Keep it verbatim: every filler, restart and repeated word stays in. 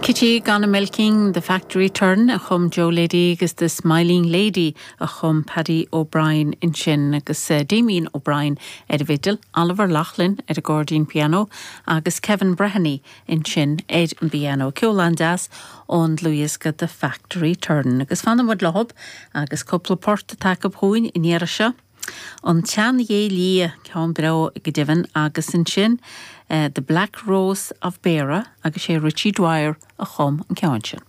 Kitty Gone a Milking, The Factory Turn a chum Joe Liddy agus The Smiling Lady a chum Paddy O'Brien ansin agus uh, Damien O'Brien ar an bhfidil, Oliver Loughlin ar an gcairdín piano agus Kevin Breheny ansin ar an bpianó ceol an-deas ón dlúthdhiosca The Factory Turn agus fanfaimid leob agus cúpla port atá acu chugainn an iarraidh seo. An tSeanghé Liath ceann breá go deimhin agus ansin uh, The Black Rose of Beara agus sé Richie Dwyer a chum an ceann sin.